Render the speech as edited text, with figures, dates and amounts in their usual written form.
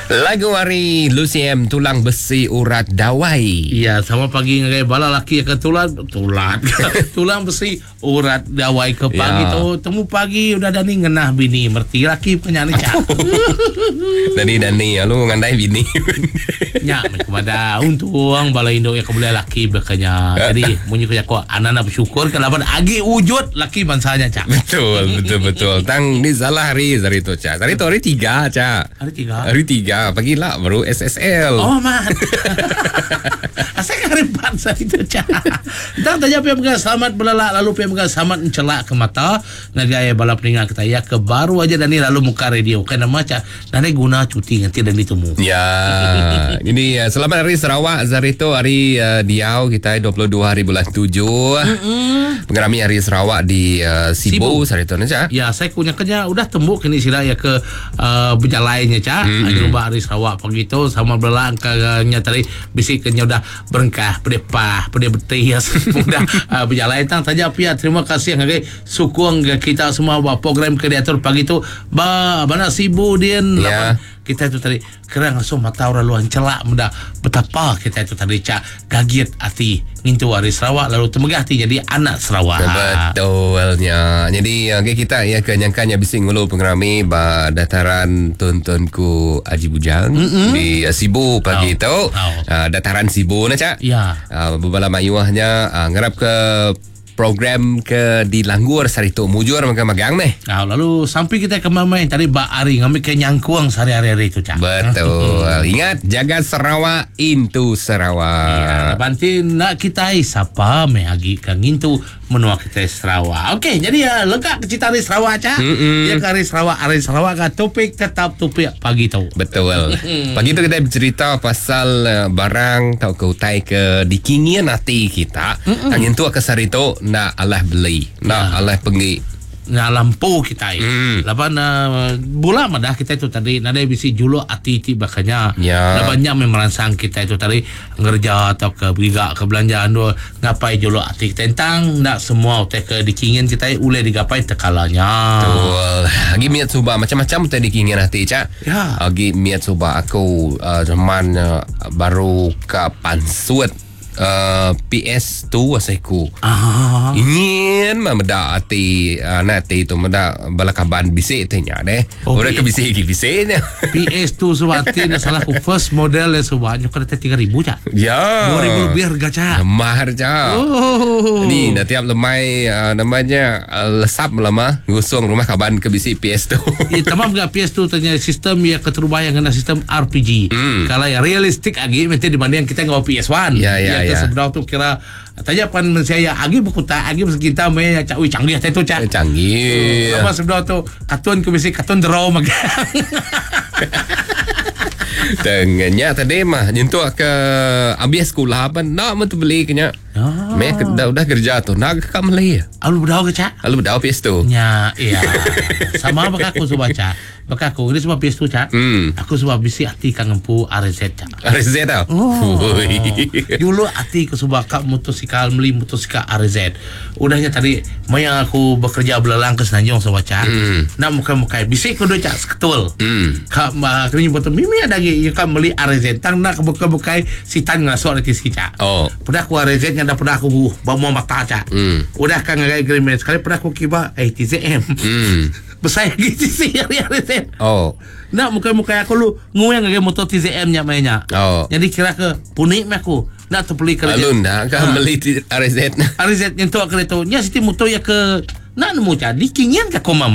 Lagu ari Lucy M Tulang Besi Urat Dawai. Ya, sama pagi ngagai bala laki ke tulan tulan tulang besi urat dawai ke pagi Ya. tu temu pagi udah dani ngenah bini merti laki penya ni cak. Dani dani lalu ngandai bini. Nya meh kepada untung bala indu yang ke bulih laki bekanya. Jadi munyi ku jaku anak nak bersyukur ke laban agi wujud laki bansa nya cak. Betul, betul, betul. Tang ni salah hari hari tu cak. Hari tu hari tiga cak. Hari tiga. Hari tiga pagi lah baru SSL. Oh man. Asal ke hari empat saya itu cak. Tang tanya pia mega selamat belelak lalu pia mega selamat mencelak ke mata ngagai bala peninga kita ya ke baru aja dani lalu muka radio kan nama cak nadai guna cuti nganti dani temu. Ya. Ini eh, selamat hari Sarawak Zari tu hari uh, diau kita 22 hari bulan 7. Mm-hmm. Pengerami hari Sarawak di uh, Sibu, Sibu. Sari tu ni cak. Ya, saya punya kerja udah tembuk kini sila ya ke uh, bejalainya cak. Mm-hmm. Hari Sarawak pagi tu sama belang ke nya tadi bisi ke nya udah berengkah pedepah pedih betih ya udah uh, bejalai tang saja pia terima kasih ngagai sukung ke kita semua ba program ke diatur pagi tu ba bana Sibu din Ya. laban kita tu tadi kera ngasuh mata orang luar celak meda betapa kita tu tadi cak gagit ati ngintu hari Sarawak lalu temegah ati jadi anak Sarawak. Betulnya. Jadi okay, kita ya ke nyangkanya bisi ngulu pengerami ba dataran Tuntunku Aji Bujang mm-hmm. di Sibu pagi Oh. tu. Oh. Dataran Sibu nah cak. Ya. Bebala mayuahnya ngarap ke program ke di Langgur sehari tu mujur magang-magang nih. Nah, lalu sampai kita ke main tadi bak ari ngambil ke nyangkuang sehari-hari tu cak. Betul. Ingat jaga Sarawak into Sarawak. Ya, banti nak kita siapa meh agi ke ngintu menua kita Sarawak. Okey, jadi ya lengkap ke cerita hari Sarawak cak. Mm-mm. Ya ke hari Sarawak, hari Sarawak ke topik tetap topik pagi tu. Betul. Pagi tu kita bercerita pasal barang atau ke utai ke dikingin hati kita. Tang itu ke sehari tu nak alah beli, nak alah pergi. Nga lampu kita. Laban bola madah kita itu tadi nadai bisi juluk ati ti bakanya. Ya. Laban nya merangsang kita itu tadi ngerja atau ke berigak ke belanja anu ngapai juluk ati kita tentang nak semua utai ke dikingin kita uleh digapai tekalanya. Betul. Agi miat suba macam-macam utai dikingin hati cak. Ya. Agi miat suba aku zaman baru ke pansut PS2 asaiku. Ingin mah meda ati anak ati tu meda bala kaban bisik tu nya deh. Oh, Orang ke bisik ke bisik nya. PS2 sebab ati salah aku first model le sebab nyo kena 3000 cak. Ya. 2000 lebih harga cak. Mahar cak. Oh. Ni dah tiap lemai namanya lesap lama ngusung rumah kaban ke bisik PS2. Ya, tamam gak PS2 tanya sistem ya keterubah yang kena sistem RPG. Kalau yang realistik lagi mesti dibanding kita ngau PS1. Ya, ya, Yang ya. sebenar tu kira tanya pan manusia ya agi berkuta agi kita me ya cak ui canggih tu cak. Canggih. Apa sebenar tu kartun ke bisi kartun draw mag. Tengahnya tadi mah nyentuh ke habis sekolah apa nak mah tu beli kenya. Ah. Meh dah udah kerja tu nak ke Malay. Alu bedau ke cak? Lalu bedau PS2. Ya, iya. Sama baka aku suba cak. Baka aku ini sebab PS2 cak. Aku sebab bisi hati kang ngempu RZ cak. RZ tau. Oh. Ui. Dulu hati ke subak kak motosikal beli motosikal RZ. Udahnya tadi maya aku bekerja belelang ke Semenanjung sebab cak. Nak muka-muka bisik kudu cak seketul. Kak ma kena nyebut mimi ada lagi ya kak beli RZ tang nak buka-buka sitan ngasok nanti si cak. Oh. Pernah aku RZ nya dah pernah aku bawa mata cak. Udah kan ngagai agreement sekali pernah aku kiba eh TZM. Besar lagi sisi hari RZ. Oh. Nak muka-muka aku lu nguyang ngagai motor TZM nya mainnya. Oh. Jadi kira ke punik meh aku. Nak terbeli kerja. Lalu nak ke beli RZ. RZ nyentuh kereta. Nya siti motor ya ke nak nemu cak dikingin ke kau mama.